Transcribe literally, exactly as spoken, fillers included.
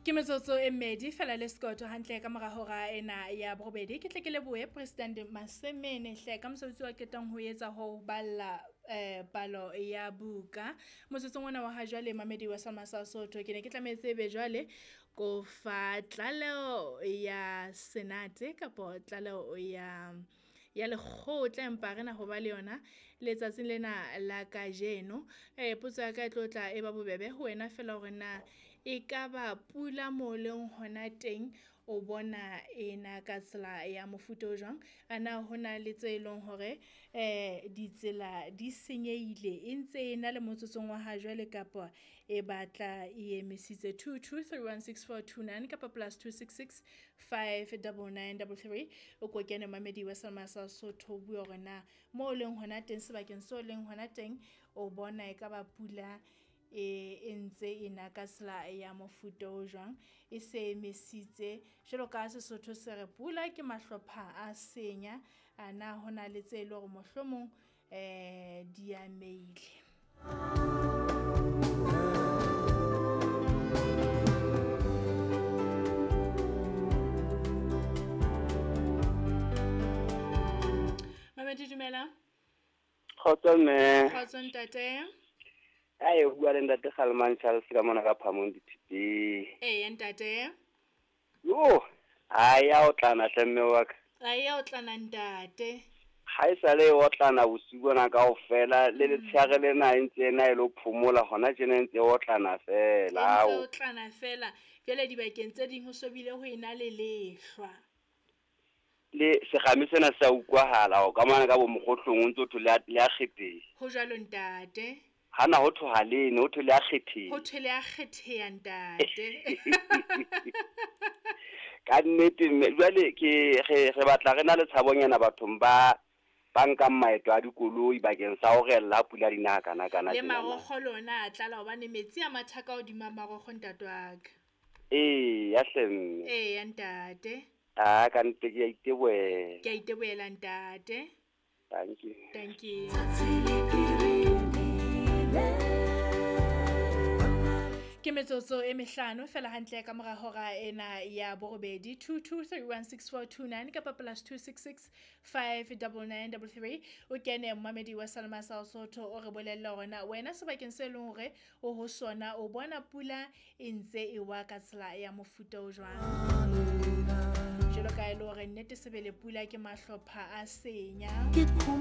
Ke metsotso e mmedi fela le sekoto hantle ka mora hora ena ya borobedi. Ke tle ke lebohe President Masemene hle ka mosebetsi wa qetang ho etsa ho balla eh palo ya buka. Motsotsong ona wa ha jwale mamedi wa Salma sa Sotho ke ne ke tlametse ebe jwale ko fa tlaleho ya Senate kapo tlaleho ya ya lekgotla empa re na ho ba le yona letsatsing lena la kajeno. Eh potso ya ka e tlo tla e ba bobebe ho wena fela hore na ekaba pula mo leng hona teng o bona ena ka tsela ya mofuta o jwang? Ana hona le tse leng hore eh ditsela di senyehile e ntse e na le motsotsong wa ha jwale kapa e batla e emisitse two two three one six four two nine kapa plus two six six five double nine double three. O ko kene mamedi wa Salma sa Sotho o bue hore na mo leng hona teng sebakeng seo leng hona teng o bona ekaba pula e e ntse e na ka tsela ya mofuta o jwang, e se emisitse jwalo ka Sesotho se re pula ke mahlopha a senya. A na hona le tse leng hore mohlomong eh di ameile. Mamedi dumela. Kgotso mme. Kgotso ntate. Ai o bua le ntate Kgalemang Charles ka mona ka Phamong dithiteng. Ee ntate. Yo, ai ya otlana hle mme wa ka. Ai ya otlana ntate. Ha e sale o otlana bosiu bona kaofela le letsheare lena e ntse ena e lo phomola hona tjena e ntse otlana fela. E ntse otlana fela. Jwale dibakeng tse ding ho sobile ho ena le lehlwa. Le sekgame sena se a utlwahala o ka mona ka bo mokgotlong o ntso thole le a kgetheha. Ho jwalo ntate. Hana ho thoha lene ho thole a kgetheha. Ho thole a kgetheha ntate. Ka nnete mme jwale ke re re batla re na le tshabonyana bathong ba ba nkang maeto a dikoloi bakeng sa ho rella pula dina kana kana. Le marokgo lona a tlala hobane metsi a matha ka hodima marokgo ntate wa ka. Ee ya hle mme. Ee ya ntate. Ah ka nnete ke a itebohela. Ke a itebohela ntate. Thank you. Thank you. Ke metsotso e mehlano fela hantle ka mora hora ena ya borobedi. Two two three one six four two nine kapa plus two six six five double nine double three. O kene momamedi wa Salma sa Sotho o re bolella hore na wena sebakeng se leng hore o ho sona o bona pula e ntse e wa ka tsela ya mofuta o jwang. Jwalo ka e le hore nnete sebele pula ke mahlopha a senya.